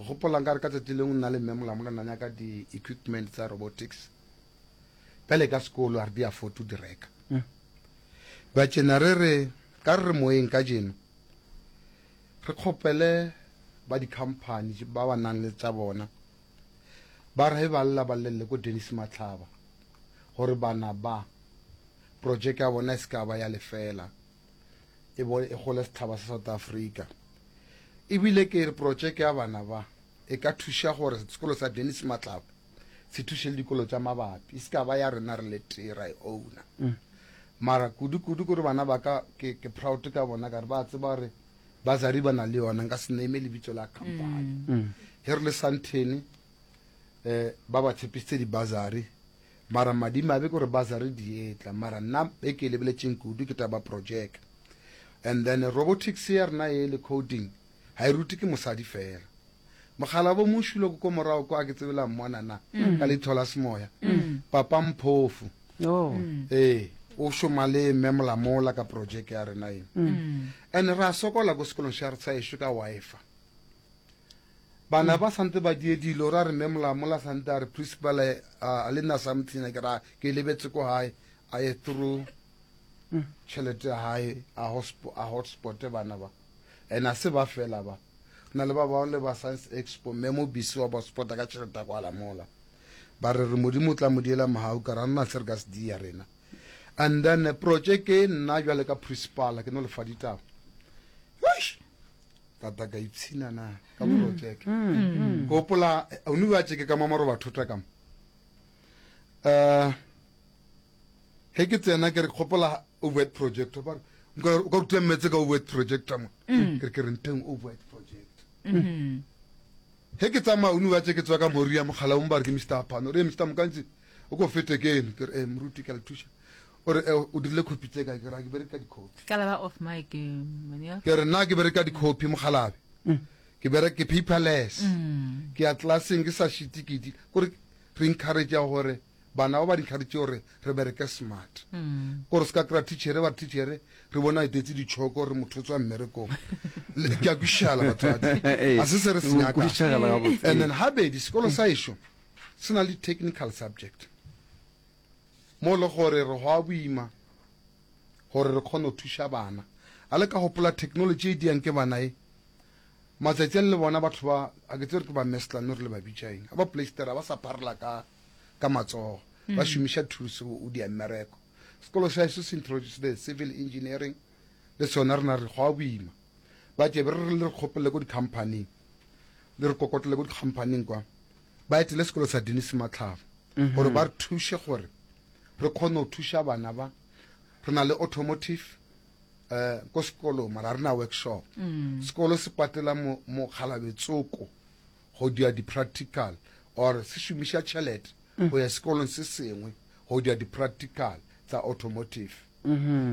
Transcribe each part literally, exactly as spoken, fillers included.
Ke gopola nka re ka tsatsi lengwe nna le mme Molamola nna nyaka di-equipment tsa robotics. Bjale ka sekolo a re di afford to di reka. Ba tšena re re ka re re moyeng ka jeno re kgopele ba di-company ba ba nang le tša bona ba re ba lla ba llelle ko Dennis Matlhaba gore bana ba project ya bona e se ka ba ya lefela e bo e gole setšhaba sa South Africa ebile ke re project ya bana ba e ka thuša gore sekolo sa Dennis Matlaba se thuše le dikolo tša mabapi e se ka ba ya rena re le tee ra e owna mara kudu-kudu kore bana ba ka ke, ke proud ka bona ka re ba tseba gore bazari ba na le yona nka se name lebitso la company ge re le Sandton eh ba ba tshepisitse di-bursary mara madimabe ke gore bursary di etla mara nna e ke e lebeletseng kudu ke taba project and then robotics ya rena e le coding ga e rute ke mosadi fela mogala bo mošulo ko morago ko a ke tsebela mmona na ka leitho la semoya papa mphofu Oh. ee o šoma le mme molamola ka project ya rena e and re a sokola ko sekolong sa sa ešo ka Wi-Fi bana ba santse ba die dilo ra re mme molamola santse a re principal a le nna something ke ra ke lebetse ko hae a ye through tšhelete ya hae a hotspot a hotspot bana ba and a se ba fela ba na le ba bangwe le ba science expo mme mo bisi wa ba spota ka tšhelete ya kwa lamola ba re re modimo o tla mo diela mogau ka ra nna se re ka se dia rena and then eh, project e nna jwale ka principal ke no lefa ditaba Eish! tata ka ipshina na ka project ke gopola o ne ba tšeke ka mamaro bathota ka mo um ge ke tsena ke re gopola overhead projector ba re nka o ka ruta mmetse ka overhead projector mo ke re ke re nteng overhead project ge ke tsamaya o ne ba tse ke tswa ka mori ya mogala o mo ba re ke Mr Apano re Mr Mokantsi o ko fete ke ene ke re eh moruti ke a le thuša o re eh, o dirile copy tse kae ke re "Ha ke bereka di-copy ka la ba off mic mania ke re nna ke bereka di-copy mogalabe ke bereka ke paperless ke ya classeng ke sa shite ke di kore re encourage gore bana ba ba encourage gore re bereke smart kore se ka kry-a teachere ba re teachere re bona etetse ditšhoko re motho o tswa mmerekong Le- ke a kwišala batswadi a se se re se nyakang kwišagala gabotse. and then habedi sekolo sa ešo se na le technical subject mo le gore re go a boima gore re kgone go thuša bana a le ka gopola technology e diang ke bana e matsatsi a le bona batho ba a ke tsere ke ba meslan re le ba bitša eng a ba playstera ba sa pharela ka ka matsogo ba šomiša tools o dia mmereko sekolo sa ešo se introduce the civil engineering le sona re na re go a boima ba tšebe re re le re kgopelele ko di-companyng le re kokotlele ko di-companyng kwa ba etele sekolo sa Dennis Matlhaba gore ba re thuše gore re kgone go thuša bana ba re na le automotive um ko sekolong mara re na workshop sekolo se patela mo mokgalabetsoko go dia di-practical or se šomiša tšhelete go ya sekolong se sengwe go dia di-practical tsa automotive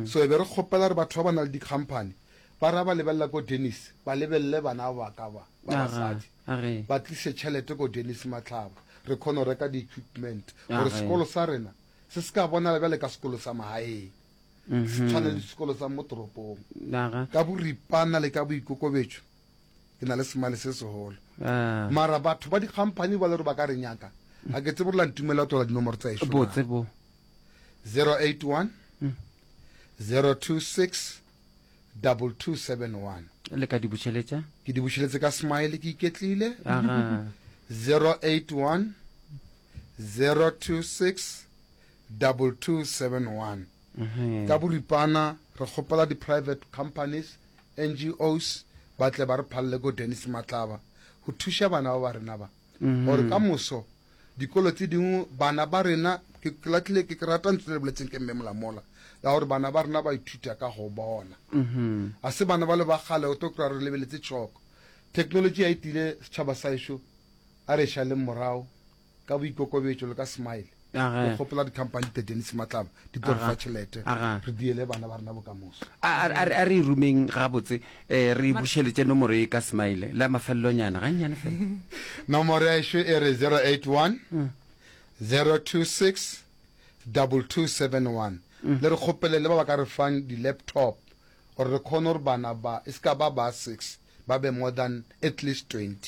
so e be re kgopela re batho ba ba na le di-company ba ra ba lebelela ko Dennis ba lebelele bana ba ka ba ba Aga, basadi age. ba tlise tšhelete ko Dennis Matlhaba re kgone go reka di-equipment gore Age. sekolo sa rena se se ka bonala bjale ka sekolo sa magaeng se tshwane le sekolo sa mo toropong Aga. ka boripana le ka boikokobetšo ke na le semale se segolo Ah. mara batho ba di-company ba le gore ba ka re nyaka ga ke tsebe gore la ntumela tola dinomoro tsa ešo botse bo zero eight one zero two six double two seven one le ka di bušeletša ke di bušeletse ka smile ke iketlile aga zero eight one zero two six double two seven one Mhm. ka boripana re kgopela di-private companies N G Os ba tle ba re phalele ko Dennis Matlaba go thuša bana ba ba rena ba gore ka moso dikolo tse dingwe bana ba rena ke ke latlhile ke ke rata ntse le boletseng ke mme molamola ya gore bana ba rena ba ithuta ka go bona Mhm. a se bana ba le ba kgale o tlo kry-a re lebeletse tšhoko technology ya etile setšhaba sa ešo a re šaleng morago ka boikokobetšo le ka smile Aga. re kgopela di-company te Dennis Matlaba di tlo re fa tšhelete Aga. re diele bana ba rena bokamoso a a- a re e rumeng gabotse um re bušeletše nomoro e ka smile la mafelelonyana gannyane fela nomoro ya ešo e re zero eight one zero two six double two seven one le re kgopele le ba ba ka re fang di-laptop gore re kgone gore bana ba e se ka ba ba six ba be more than at least twenty.